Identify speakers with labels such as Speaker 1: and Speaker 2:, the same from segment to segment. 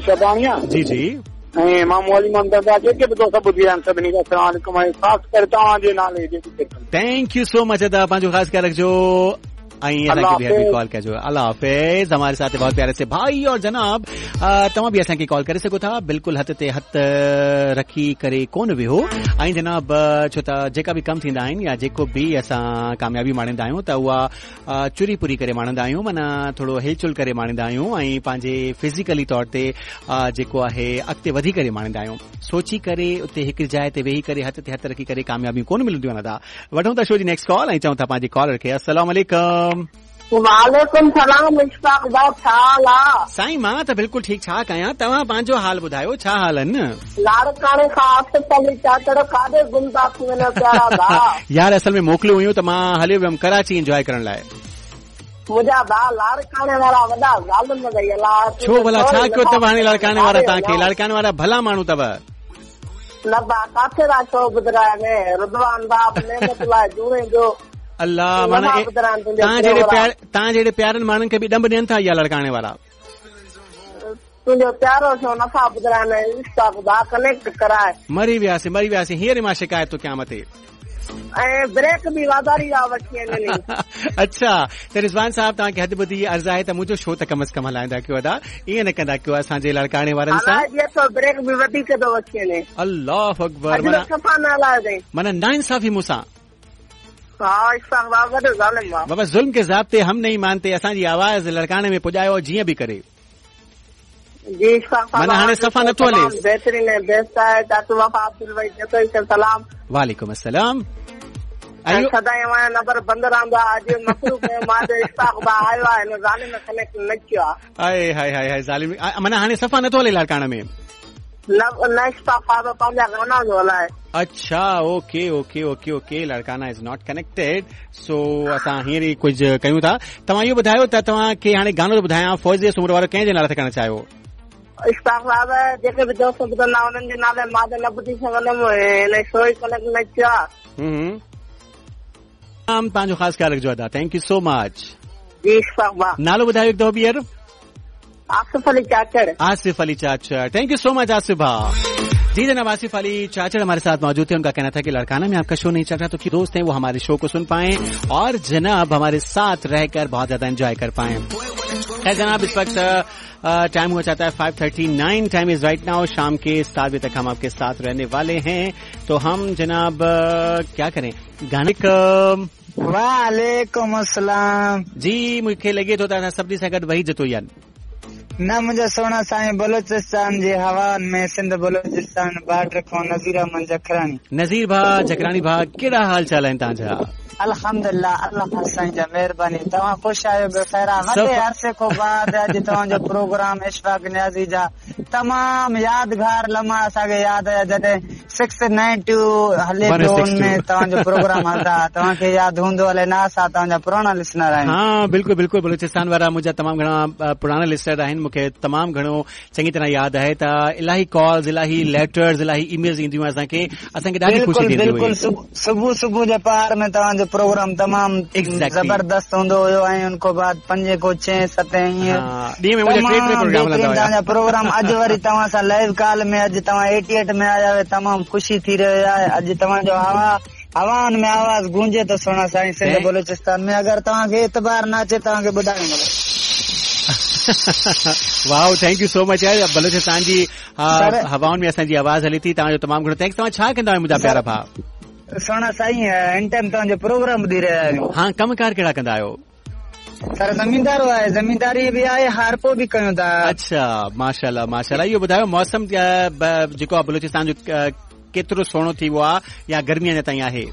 Speaker 1: شباڻي آ.
Speaker 2: جي جي.
Speaker 1: ۽ مامو علي محمد دندا جيڪي به دوست ٻڌي رهيا آهن سڀني کي السلام عليڪم ۽ خاص ڪري توهان جي نالي جيڪي ڪيترن.
Speaker 2: Thank you so مچ ادا پنهنجو خاص خيال رکجو ۽ اسان کي ٻيهر به ڪال ڪجو الله حافظ हमारे साथ बहुत प्यारे से भाई और जनाब توهان به اسان کي ڪال ڪري سگهو ٿا بلڪل هٿ تي هٿ رکي ڪري ڪونه ويهو ۽ جناب ڇو ته جيڪا به ڪم ٿيندا آهن يا جيڪو به اسان ڪاميابي ماڻيندا آهيون ته اها چري پري ڪري ماڻيندا آهيون معنيٰ ٿورو هلچل ڪري ماڻيندا آهيون ۽ پنهنجي فزيڪلي طور تي جيڪو آهي اڳتي وڌي ڪري ماڻيندا آهيون سوچي ڪري اتي هڪ جاء تي ويهي ڪري هٿ تي هٿ رکي ڪري ڪاميابيون ڪونه ملنديون آهن ادا وٺون ٿا شو جي نيڪسٽ ڪال ۽ چئون ٿا پنهنجي ڪالر کي السلام عليڪم.
Speaker 3: وعليڪم سلام اشفاق ڀاء ڇا حال آ.
Speaker 2: سائين مان ته بلڪل ٺيڪ ڇا ڪيان توهان پنهنجو حال ٻڌايو ڇا حال آهن.
Speaker 3: لاڙڪاڻي کان آصف علي چاچڙ ڪاڏي گم ٿا ٿي وڃو پيارا ڀاء.
Speaker 2: يار اصل ۾ موڪلون هيون ته مان هليو ويم ڪراچي انجواء ڪرڻ لاء.
Speaker 3: منهنجا ڀاء لاڙڪاڻي وارا وڏا ظالم اٿئي الا
Speaker 2: ڇو ڀلا ڇا ڪيو اٿو هاڻي لاڙڪاڻي وارا توهان کي لاڙڪاڻي وارا ڀلا ماڻهو اٿو.
Speaker 3: نه ڀاء ڪاٿي ٿا شو ٻڌرائن رضوان ڀاء نعمت الله جوڻيجو
Speaker 2: الله معنيٰ توهان جهڙي پيار توهان جهڙي پيارن ماڻهن کي به ڏنڀ ڏين ٿا اها لاڙڪاڻي وارا.
Speaker 3: تنهنجو پيارو شو نٿا ٻڌرائن اشفاق ڀاء ڪنيڪٽ ڪرائي.
Speaker 2: مري وياسين مري وياسين هينئر ئي مان شڪايت ٿو ڪيان مٿي.
Speaker 3: ۽ بريڪ به واڌاري جا وٺي وڃن.
Speaker 2: اڇا ته رضوان صاحب توهان کي هٿ ٻڌي عرض آهي ته منهنجو شو ته ڪم از ڪم هلائيندا ڪيو ادا ائين نه ڪندا ڪيو اسان جي لاڙڪاڻي وارن سان.
Speaker 3: هلائجي اٿو بريڪ به وڌيڪ ٿو وٺي وڃي.
Speaker 2: الله اڪبر
Speaker 3: اڄ ته صفا نه هلايو اٿئي.
Speaker 2: معنيٰ ناانصافي مون سان.
Speaker 3: ها اشفاق بابا وڏو ظالم آ.
Speaker 2: بابا ظلم ڪي ضابطي هم نهين مانتي اسان جي آواز لاڙڪاڻي ۾ پڄايو جيئن به ڪري.
Speaker 3: جي اشفاق صاحب
Speaker 2: معنيٰ هاڻي صفا نٿو هلي.
Speaker 3: تمام بهترين ۽ بيسٽ آهي چاچو وفا عبدالوحيد جتوئي کي سلام.
Speaker 2: وعليڪم السلام.
Speaker 3: ۽ سدائين اوهان جو نمبر بند رهندو آهي اڄ مصروف هيم مان چيو اشفاق ڀاء آيو آهي هن ظالم ڪنيڪٽ نه ڪيو آهي.
Speaker 2: هائي هائي هائي هائي ظالم معنيٰ هاڻي صفا نٿو هلي لاڙڪاڻي ۾.
Speaker 3: نه نه اشفاق صاحب پنهنجا گانا ٿو هلائي.
Speaker 2: اڇا okay okay okay okay Larkana is not connected سو اسان هينئر ئي ڪجهه ڪيون ٿا توهان اهو ٻڌايو ته توهان کي هاڻي گانو ٿو ٻڌايان فوزيه سومرو وارو ڪنهن جي نالي ٿا ڪرڻ چاهيو.
Speaker 3: اشفاق صاحب جيڪي به دوست ٻڌندا انهن جي نالي مان ته نه ٻڌي سگهندم هن شو ئي ڪنيڪٽ نه ٿيو آ.
Speaker 2: پنهنجو خاص خيال رکجو ادا thank you سو مچ.
Speaker 3: جي اشفاق ڀاء.
Speaker 2: نالو ٻڌايو هڪ دفعو ٻيهر.
Speaker 3: Asif Ali Chachar.
Speaker 2: Asif Ali Chachar thank you so much Asif भाई जी जनाब आसिफ अली चाचड़ हमारे साथ मौजूद थे उनका कहना था कि लड़काना में आपका शो नहीं चल रहा तो दोस्त हैं वो हमारे शो को सुन पाए और जनाब हमारे साथ रहकर बहुत ज्यादा एंजॉय कर पाए खैर जनाब इस वक्त टाइम हो जाता है 5:39 टाइम is right now शाम के 7 बजे तक हम आपके साथ रहने वाले हैं तो हम जनाब क्या करें गाने
Speaker 4: वालेकुम अस्सलाम
Speaker 2: जी मूंखे लॻे थो त असां सभिनी सां गॾु वही जतोई आहिनि
Speaker 4: न मुंहिंजा सोहणा साईं बलोचिस्तान जे हवाउनि में सिंध बलोचिस्तान बार्डर खां नज़ीर अहमद जखराणी
Speaker 2: नज़ीर भाउ जखराणी भाउ कहिड़ा हाल चाल आहिनि तव्हांजा
Speaker 4: अल्हम्दुलिल्लाह अल्लाह साईं जा महिरबानी तव्हां ख़ुशि आहियो ॿियो ख़ैर आहे वॾे अरसे खां बाद अॼु तव्हांजो प्रोग्राम इशफाक नियाज़ी जा तमाम यादगार लम्हा असांखे यादि आया जॾहिं 692 हले पियो उन में तव्हांजो प्रोग्राम हलंदा हुआ तव्हांखे यादि हूंदो अलाए न असां तव्हांजा पुराणा लिसनर आहियूं
Speaker 2: हा बिल्कुलु बिल्कुलु बलोचिस्तान वारा मुंहिंजा तमामु घणा पुराणा लिसनर आहिनि मूंखे तमामु घणो चङी तरह यादि आहे त इलाही कॉल्स इलाही लेटर्स इलाही ईमेल्स ईंदियूं हुयूं असांखे असांखे ॾाढी ख़ुशी थींदी हुई
Speaker 4: बिल्कुलु सुबुह सुबुह जे पहाड़ में तव्हांजो प्रोग्राम तमामु ज़बरदस्त हूंदो हुयो ऐं उन खां बाद पंजे खां छह सते ईअं
Speaker 2: ॾींहं में मुंहिंजा टे टे प्रोग्राम हलंदा हुया
Speaker 4: तव्हांजा प्रोग्राम अॼु वरी तव्हां सां लाइव कॉल में अॼु तव्हां 88 में आया आहियो तमामु ख़ुशी थी रहियो आहे अॼु तव्हांजो हवा हवाउनि में आवाज़ गूंजे थो सोहणा साईं सिंध बलोचिस्तान में अगरि तव्हांखे एतबार न अचे तव्हांखे ॿुधाइणो
Speaker 2: wow thank you so much यार बलोचिस्तान जी हवाउनि में असांजी आवाज़ हले थी तव्हांजो तमामु घणो thanks तव्हां छा कंदा आहियो मुंहिंजा प्यारा भाउ
Speaker 4: सोहणा साईं हिन टाइम तव्हांजो प्रोग्राम ॿुधी रहिया आहियूं
Speaker 2: हा कम कार कहिड़ा कंदा आहियो
Speaker 4: सर ज़मींदारो आहे ज़मींदारी बि आहे हारपो बि कयूं था
Speaker 2: अच्छा माशाल्लाह माशाल्लाह इहो ॿुधायो मौसम जेको आहे बलोचिस्तान जो केतिरो सुहिणो थी वियो आहे या गर्मी अञा ताईं आहे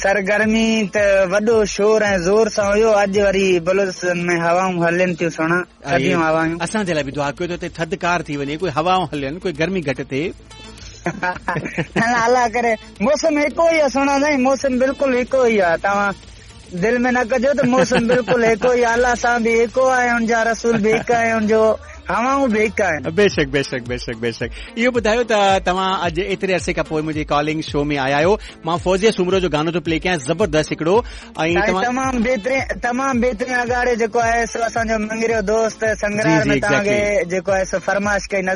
Speaker 4: सर गर्मी त वॾो शोर ऐं ज़ोर सां हुयो अॼु वरी बलोचिस्तान में हवाऊं हलनि थियूं सुहिणा थधियूं हवायूं
Speaker 2: असांजे लाइ बि दुआ कयो त हिते थधकार थी वञे कोई हवाऊं हलनि कोई गर्मी घटि थिए
Speaker 4: अलाह करे मौसम हिकु ई आहे सुहिणा साईं मौसम बिल्कुलु हिकु ई आहे तव्हां दिल में न कजो त मौसम बिल्कुलु हिकु ई आहे अलाह सां बि हिकु आहे हुनजा रसूल बि हिकु आहे हुनजो हवाऊं बि हिकु आहिनि
Speaker 2: बेशक बेशक बेशक बेशक इहो ॿुधायो त तव्हां अॼु एतिरे अरसे खां पोइ मुंहिंजी कॉलिंग शो में आया आहियो मां फौजिया सूमरो जो गानो थो प्ले कयां ज़बरदस्त हिकिड़ो ऐं
Speaker 4: तमामु बहितरीन तमामु बहितरीन अॻाड़े जेको आहे सो असांजो मंगरियो दोस्त संगरार में तव्हांखे जेको आहे सो फरमाइश कई नज़ीर